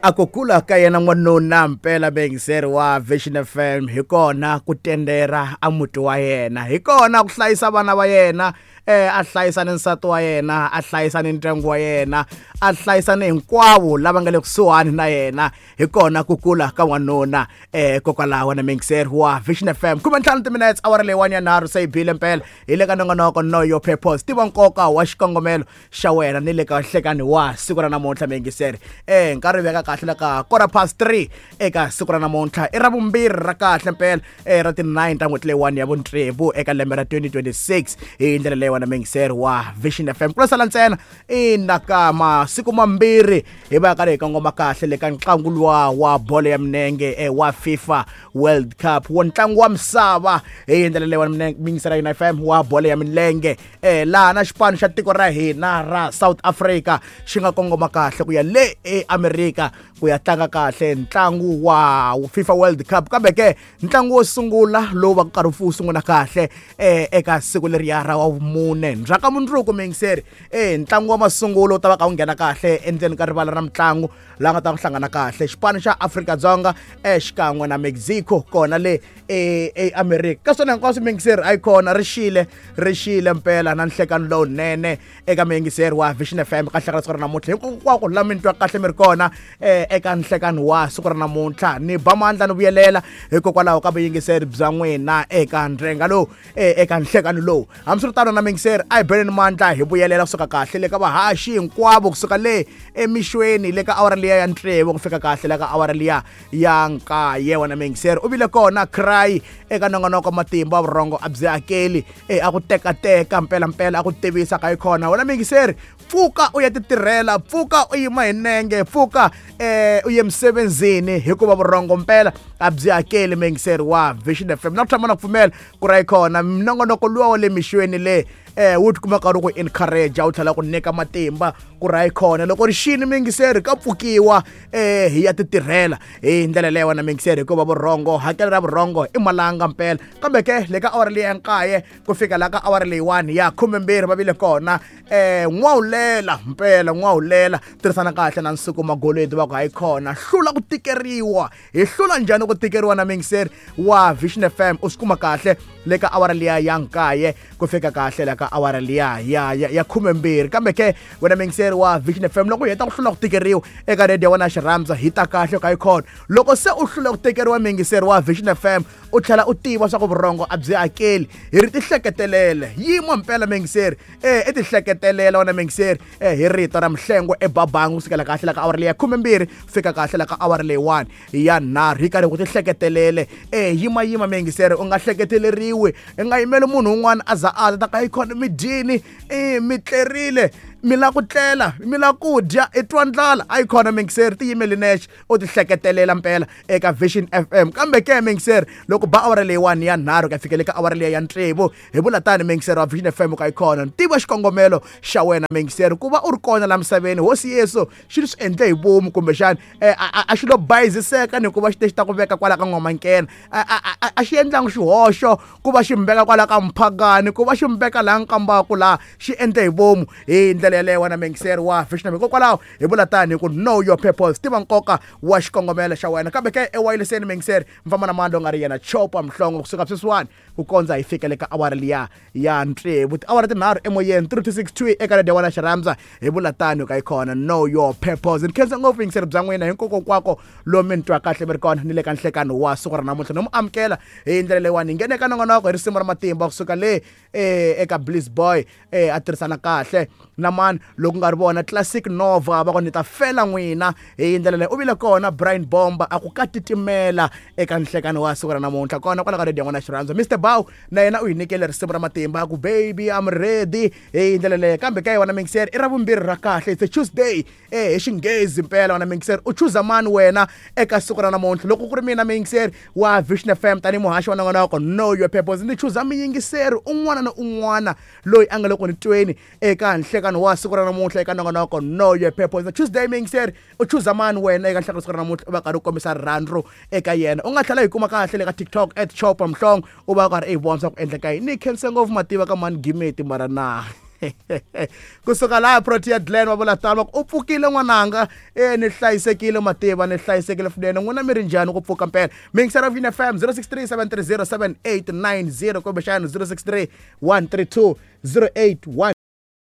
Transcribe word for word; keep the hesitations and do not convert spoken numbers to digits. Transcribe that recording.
A ku kula ka yena n'wanuna mpela muyingiseri wa Vision F M hi kona ku tendera a muti wa yena, hi kona ku hlayisa vana va yena, eh a hlayisa ni nsati wa yena, a hlayisa ni ndyangu wa yena, a hlayisa ni hinkwavo lava nga le kusuhani na yena, hi kona ku kula ka n'wanuna. Eh kokwalaho na muyingiseri wa Vision F M khume ntlhanu timinetse awara leyiwani ya nharhu se yi bile mpela hi le ka nongonoko Know Your Purpose, tiva nkoka wa xikongomelo xa wena ni le ka nhlekani wa siku ra namuntlha muyingiseri. Eh nkarhi veka kahle la ka quarter past three eka siku ra namuntlha i ra vumbirhi ra kahle mpela eh ra ti nine ta n'hweti leyiwani ya vutsevu eka lembe ra twenty twenty-six hi ndlela leyiwani muyingiseri wa Vision F M. Ku sala ntsena ina ka masiku mambirhi hi va karhi hi kongoma kahle le ka ntlangu luwa wa bolo ya milenge eh, wa FIFA World Cup wa ntlangu wa misava hi ndlela leyiwani muyingiseri wa F M wa bolo ya milenge eh laha na xipano xa tiko ra hina ra South Africa xi nga kongoma kahle ku ya le eAmerika ku ya tlanga kahle ntlangu wa FIFA World Cup. Kambe ke ntlangu wo sungula lowu va karhi wu sungula kahle eh eka siku leriya ra wa vumune ndzhaka mundzuku muyingiseri eh ntlangu wa masungulo wu ta va ka wu nghena kahle endzeni ka rivala ra mitlangu laha nga ta hlangana kahle xipano xa Afrika-Dzonga eh xikan'we na Mexico kona le eAmerika. Ka swona hinkwaswo muyingiseri a yi kona ri xile ri xile mpela na nhlekano lowunene eka muyingiseri wa Vision F M ka nhlekani siku ra namuntlha hinkwako la mi twa kahle mi ri kona eh eka nhlekano wa siku ra namuntlha. Ni ba mandla ni vuyelela hikokwalaho ka vuyingiseri bya n'wina eka ndrenga lowu eka nhlekano lowu. Hambiswiritano na muyingiseri a hi beleni mandla hi vuyelela kusuka kahle le ka vahaxi hinkwavo kusuka le emixweni le ka awara liya ya ntsevu ku fika kahle le ka awara liya ya nkaye. Wena muyingiseri u vile kona cry eka nongonoko matimba vurhongo a byi hakeli eh a ku tekateka mpela mpela a ku tivisa ka yi kona. Wena muyingiseri pfuka u ya titirhela, pfuka u yima hi nenge, pfuka eh u ye emsebenzini hikuva vurhongo mpela a byi hakeli muyingiseri wa Vision F M. Na ku tshama na ku pfumela ku ra yi kona minongonoko luwa wa le mixweni le eh wu tikuma karhi ku encourage wu tlhela ku nyika matimba ku ra yi kona loko ri xini muyingiseri ka pfukiwa eh hi ya titirhela hi ndlela leyi wena muyingiseri hikuva vurhongo hakelo ra vurhongo i malanga mpela. Kambe ke le ka awara leyi ya nkaye ku fika la ka awara leyiwani ya khumembirhi va vile kona eh n'wawulela mpela n'wawulela tirhisana kahle na Nsuku Magoledi va ku hayi kona hlula ku tikeriwa. Hi hlula njhani ku tikeriwa na muyingiseri wa Vision F M? U swi kuma kahle le ka awara liya ya nkaye ku fika kahle la ka awara liya ya ya ya khumembirhi. Kambe ke wena muyingiseri wa Vision F M loko u heta ku hlula ku tikeriwa eka radio ya wena Xirhamza hi ta kahle ka yi kona. Loko se u hlula ku tikeriwa muyingiseri wa Vision F M u tlhela u tiva swa ku vurhongo a byi hakeli hi ri tihleketelele yima mpela muyingiseri eh i tihleketelela wena muyingiseri eh hi rito ra Mhlengwe eBabangu kusukela kahle la ka awara liya khumembirhi fika kahle la ka awara leyiwani ya nharhu hi karhi ku tihleketelele eh yima yima muyingiseri u nga hleketeleriwi i nga yimeli munhu un'wana a za a ta ka yi kona mi dyini eh mi tlerile mi la ku tlela mi la ku dya i twa ndlala a yi kona muyingiseri tiyimeli nexe u tihleketelela mpela eka Vision F M. Kambe ke muyingiseri loko ba awara leyiwani ya nharhu ka fikele ka awara liya ya ntsevu hi vula tani muyingiseri wa Vision F M ka yi kona tiva xikongomelo xa wena muyingiseri ku va u ri kona la misaveni. Hosi Yesu xi swi endle hi vomu kumbexani a xi lo bayiziseka ni ku va xi te xi ta ku veka kwala ka n'wamankena a xi endlangi xihoxo ku va xi mbeka kwala ka mphakani ku va xi mbeka laha nkambaku laha xi endle hi vomu hi ndlela yeleyo wena muyingiseri wa Vision F M. Hikokwalaho hi vula tani hi ku know your purpose, tiva nkoka wa xikongomelo xa wena. Kambe ke ewayileseni muyingiseri mfamba na mandla u nga ri yena Chopa Mhlongo kusuka sweswiwani ku kondza hi fika le ka awara liya ya ntsevu tiawara tinharhu emoyeni three two six two eka radio ya wena Xirhamza hi vula tani ka yi kona know your purpose. Ni khensa ngopfu yingiseri bya n'wina hinkwako lomu mi ni twa kahle mi ri kona ni le ka nhlekano wa siku ra namuntlha no mu amukela hi ndlela leyiwani hi nghene eka nongonoko hi risimu ra matimba kusuka le eh eka Bliss Boy eh a tirhisana kahle na mani loko nga ri vona Classic Nova va ku ni ta fela n'wina hi ndlela leyi u vile kona Brian Bomba a ku ka titimela eka nhlekano wa siku ra namuntlha kona kwala ka radio ya n'wina Xirhamza. Mister Bow na yena u hi nyikele risimu ra matimba a ku baby I'm ready hi ndlela leyi. Kambe ka yona muyingiseri i ra vumbirhi ra kahle it's a Tuesday eh hi xinghezi mpela wena muyingiseri u chuza mani wena eka siku ra namuntlha. Loko ku ri mina muyingiseri wa Vision F M tanihi muhaxi wa nongonoko Know Your Purpose ndzi chuza muyingiseri un'wana na un'wana loyi a nga le ku ni tweni eka nhlekano wa siku ra namuntlha eka nongonoko Know Your Purpose. Tuesday muyingiseri u chuza mani wena eka nhlekano siku ra namuntlha u va karhi u kombisa rirhandzu eka yena. U nga tlhela hi kuma kahle le ka TikTok at Chopa Mhlongo u va karhi i vona swa ku endleka yini. Ni khense ngopfu mativa ka mani gimeti mara na Kusuka laha Protea Glen va vula tano, va ku u pfukile n'wananga. E ni hlayisekile mativa, ni hlayisekile swinene. N'wina mi ri njhani ku pfuka mpela? Mingisela Vina F M zero six three seven three zero seven eight nine zero kumbexana zero six three one three two zero eight one.